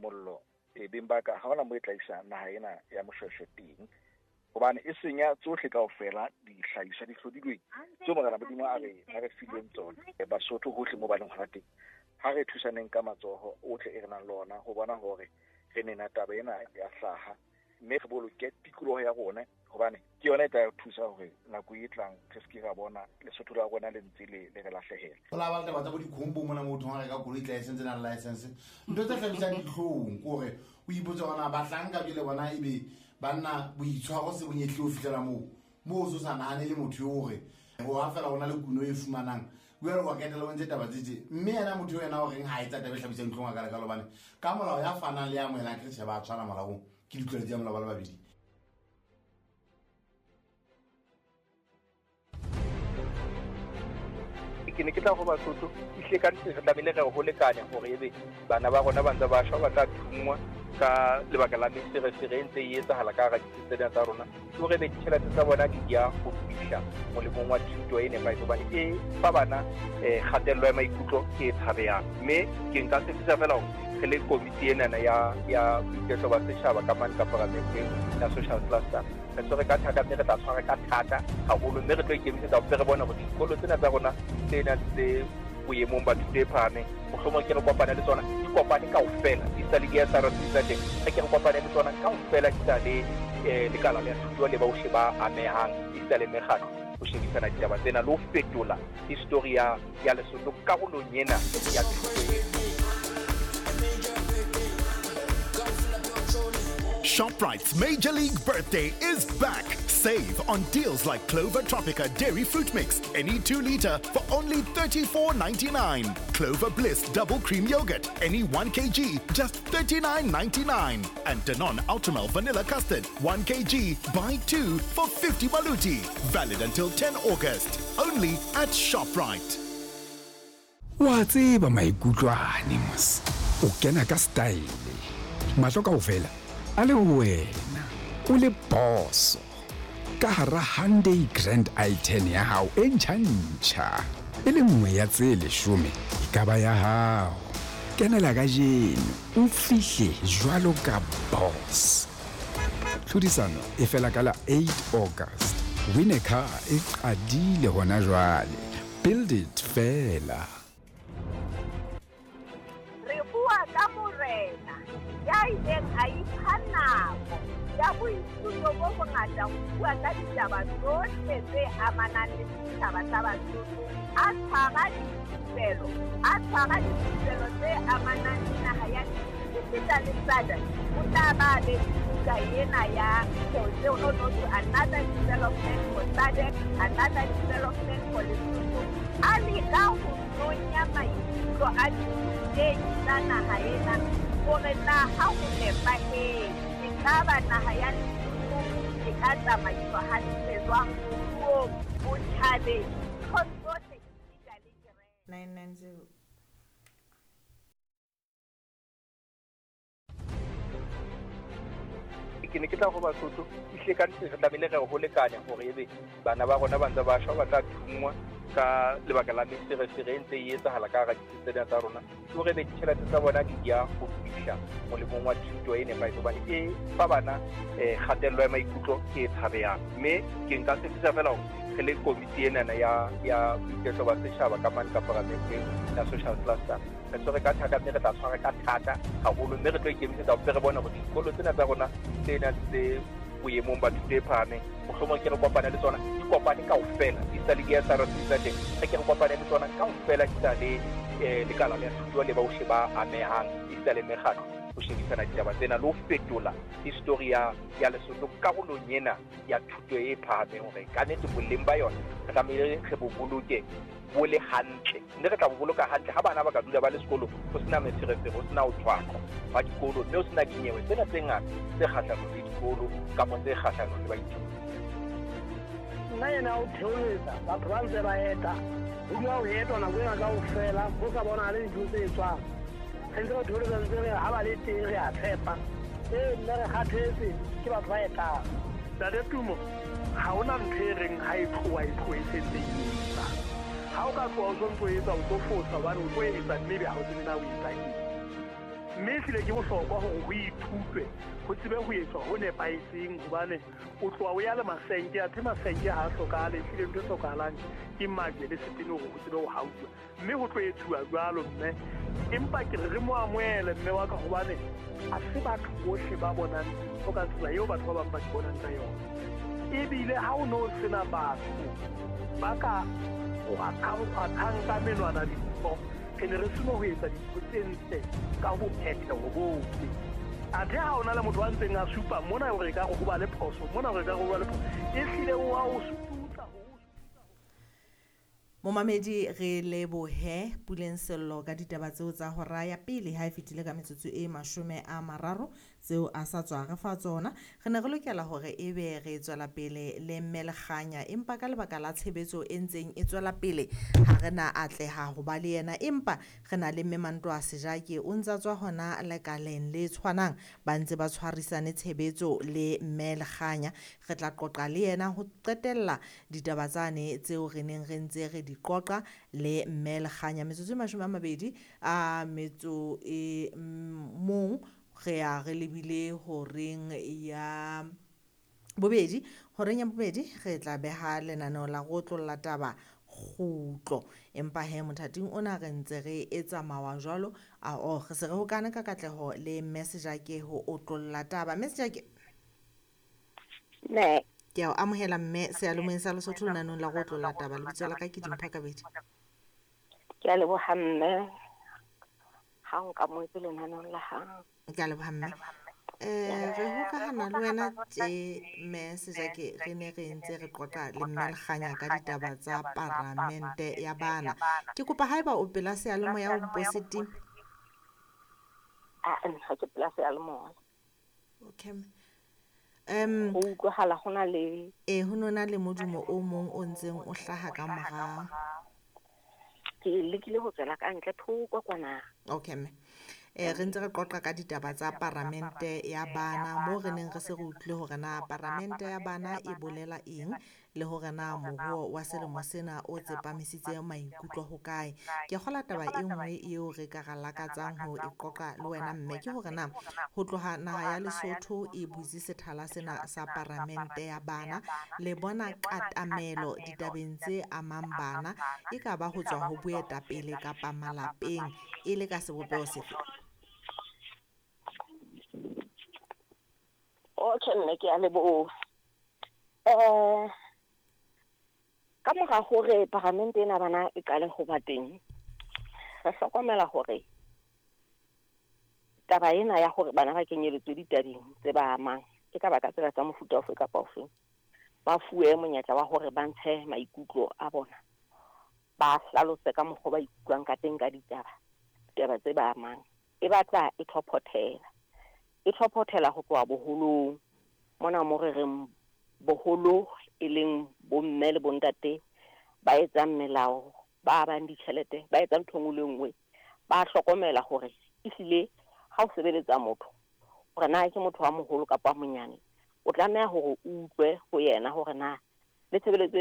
Mollo e beng ba ka ha hona mo e tla isa naha ena ya Moshoeshoe teng, hobane e senya tsohle kaofela dihlahiswa di hlodilweng tseo Morena Modimo a re fileng tsona. Basotho hohle mo ba leng hona teng, ha re thusaneng ka matsoho ohle e re nang le ona ho bona hore re nena taba ena ya hlaha, mme re boloke tikoloho ya rona, hobane ke yona e tla thusa hore nako e tlang re se ke ra bona Lesotho la rona le ntse le re lahlehela. Ho la ba taba tsa bo dikhombo mona motho ha reka koloi tla e sentse nang license, ntho tse hlabisang dihlong ke hore o ipotse hore na bahlanka jwale bona ebe banna boitshwaro se bonyehle ho fihlela moo o so sa nahane le motho eo hore ho ha fela ho na le kuno e fumanang jwale wa ketela o ntse taba tse tje, mme yena motho eo yena o reng ha etsa taba e hlabisang dihlong a ka leka hobane ka molao ya fanang le ya amohelang ke re tjhe ba tshwana molaong, ke ditlwaelo tsa molao ba le babedi. Ke ne ke tla ho Basotho ehlile ka nnete re tlamehile re ho lekane hore ebe bana ba rona ba ntse ba shwa, ba tla thunngwa ka lebaka la meferefere e ntse e etsahala ka hara ditsi tsena tsa rona, ke hore ebe ditjhelete tsa bona di ya ho fihla molemong wa thuto e nepahetseng, hobane e fa bana kgatello ya maikutlo e tshabehang. Mme ke nka tshepisa fela hore re le komiti enana ya boiketlo ba setjhaba ka mane ka paramenteng ya social cluster, re tshwere ka thata, mme re tla tshwara ka thata haholo, mme re tlo ikemisetsa hore re bone hore dikolo tsena tsa rona tse nang tse boemong ba thuto e phahameng, mohlomong ke re kopane le tsona, di kopane kaofela, di sa le di-S R C tsa teng, re ke re kopane le tsona kaofela, di sa le lekala la thuto le bohle ba amehang, di sa le mekgatlo ho shebisana ditaba tsena le ho fetola history ya Lesotho karolong ena ya thuto. ShopRite's Major League Birthday is back. Save on deals like Clover Tropica Dairy Fruit Mix, any 2 liter for only $34.99. Clover Bliss Double Cream Yogurt, any 1 kg, just $39.99. And Danone Ultramel Vanilla Custard, 1 kg, buy 2 for 50 baluti. Valid until 10 August. Only at ShopRite. Wa tseba maikutlo ane mos. O kena ka style. Mahlo kaofela a le ho wena, o le boso. Ka hara Hyundai Grand i10 ya hao e ntjha-ntjha, e le nngwe ya tse 10 e ka ba ya hao. Kenela kajeno, o fihle jwalo ka boss. Tlhodisano e fela ka la 8 August. Win a car e qadile hona jwale. Build it fela. Re bua ka morena ya ileng a ipha nako ya boithuto bo bongata ho bua ka ditaba tsohle tse amanang le setjhaba sa Basotho, a tshwara dithupelo, a tshwara dithupelo tse amanang le naha ya esita le SADC. O tla ba be buka ena ya no no no another development for SADC, another development for Lesotho. A leka ho nonya maikutlo a dithutehi tsa naha ena hore na ha ho nepahetse, ekaba naha ya Lesotho e ka tsamaiswa hantle jwang moruong, botjhabeng, nthong tsohle esita le kereke. 990. Ke ne ke tla ho Basotho ehlile ka nnete re tlamehile re ho lekane hore ebe bana ba rona ba ntse ba shwa, ba tla thunngwa ka lebaka la meferefere e ntse e etsahala ka hara ditsi tsena tsa rona, ke hore ebe ditjhelete tsa bona di ya ho fihla molemong wa thuto e nepahetseng, hobane e fa bana kgatello ya maikutlo e tshabehang. Mme ke nka tshepisa fela hore re le komiti enana ya boiketlo ba setjhaba ka mane ka paramenteng ya social cluster, re tshwere ka thata, mme re tla tshwara ka thata haholo, mme re tlo ikemisetsa hore re bone hore dikolo tsena tsa rona tse nang tse boemong ba thuto e phahameng, mohlomong ke re kopane le tsona, di kopane kaofela, di sa le di-S R C tsa teng, re ke re kopane le tsona kaofela, di sa le lekala la thuto le bohle ba amehang, esita le mekgatlo ho shebisana ditaba tsena le ho fetola history ya Lesotho karolong ena ya thuto e phahameng, hore ka nnete boleng ba yona re tlamehile re bo boloke bo le hantle, mme re tla bo boloka hantle ha bana ba ka dula ba le sekolong, ho sena meferefere, ho sena ho tshwarwa ba dikolo, mme ho sena dinyewe tsena tse ngata tse kgahlanong le dikolo kapa tse kgahlanong le baithuti. Nna ena o theoletsa batho ba ntse ba eta, ho dula ho etwa nako ena kaofela, ho sa bonahale dintho tse etswang. Re ntse re theoletsa ntse re ha ba le teng re a tshepa. Ee, nna re kgathetse ke batho ba etang. Ntate Tumo, ha hona ntho e reng ha e tloha e tlohe e sentse e etsa. Ha o ka tloha o sontso o etsa, o tlo fosa hobane o tlo etsa mme ebe ha o tsebe na o etsa eng. Mme ehlile ke bohlokwa hore ho ithutwe, ho tsebe ho etswa ho nepahetseng, hobane o tloha o ya le masenke, athe masenke ha a hlokahale. Ehlile ntho e hlokahalang ke majwe le setene hore ho tsebe ho hauwa, mme ho tlo etsuwa jwalo mme. Empa ke re re mo amohele mme wa ka, hobane ha se batho bohle ba bonang dintho ka tsela eo batho ba bang ba di bonang ka yona. Ebile ha o no sena batho ba ka kgwathang ka menwana dintho, re ne re seno ho etsa dintho tse ntle ka ho phetheho bohle. Athe ha ona le motho a ntseng a supa mona hore ekare ho ba le phoso, mona hore ekare ho ba le phoso, ehlile o a o sututsa. Momamedi, re lebohe Puleng Sello ka ditaba tseo tsa hora ya pele ha e fetile ka metsotso e 30 tseo a sa tswa re fa tsona. Re ne re lokela hore ebe re tswela pele le mme Lekganya, empa ka lebaka la tshebetso e ntseng e tswela pele ha re na atleha ho ba le yena, empa re na le mme Mantoa Sejake, o ntsa tswa hona lekaleng le tshwanang, ba ntse ba tshwarisane tshebetso le mme Lekganya. Re tla qoqa le yena ho qetella ditaba tsane tseo re neng re ntse re di qoqa le mme Lekganya. Metsotso e 21 a metso e mong re ya re lebile horeng ya bobedi. Horeng ya bobedi re tla beha lenaneo la go otlolla taba kgutlo, empa he mothating ona re ntse re etsa mawa jwalo a o re se re hokane ka katleho le mme Sejake ho otlolla taba. Mme Sejake, Ne. Ke a o amohela mme seyalemoyeng sa Lesotho lenanong la go otlolla taba. Lebitso la ka ke Dimpho Kabedi. Ke a leboha mme ha o nkamohetse lenanong la hao. Ke a leboha mme. Re hokahana le wena tje mme Sejake, re ne re ntse re qoqa le mme Lekganya ka ditaba tsa paramente ya bana. Ke kopa haeba o pela seyalemoya o mpo se time. Ah, ha ke pela seyalemoya. Okay. Ho utlwahala ho na le ho nona le modumo o mong o ntseng o hlaha ka morao. Ke lekile ho tswela ka ntle thoko kwana. Okay mme. Re ntse re qoqa ka ditaba tsa paramente ya bana, moo re neng re se re utlwile hore na paramente ya bana e bolela eng, le hore na moruo wa selemo sena o tsepamisitse maikutlo ho kae. Ke kgola taba e nngwe eo re ka ra lakatsang ho e qoqa le wena mme, ke hore na ho tloha naha ya Lesotho e butse sethala sena sa paramente ya bana, le bona katamelo ditabeng tse amang bana, e ka ba ho tswa ho boetapele kapa malapeng, e le ka sebopeho sefe? Okay mme, ke a leboha. Ka mora hore paramente ena bana e qale ho ba teng, re hlokomela hore taba ena ya hore bana ba kenyeletswe ditabeng tse ba amang, e ka ba ka tsela tsa mofuta ofe kapa ofe, ba fuwe monyetla wa hore ba ntshe maikutlo a bona, ba hlalose ka mokgwa ba ikutlwang ka teng ka ditaba, ditaba tse ba amang. E batla e thophothela. E thophothela ho tloha boholong. Mona mo re reng boholo e leng bomme le bontate ba etsang melao, ba bang ditjhelete, ba etsang ntho e nngwe le nngwe, ba hlokomela hore ehlile ha o sebeletsa motho, hore na ke motho wa moholo kapa wa monyane, o tlameha hore o utlwe ho yena hore na le tshebeletso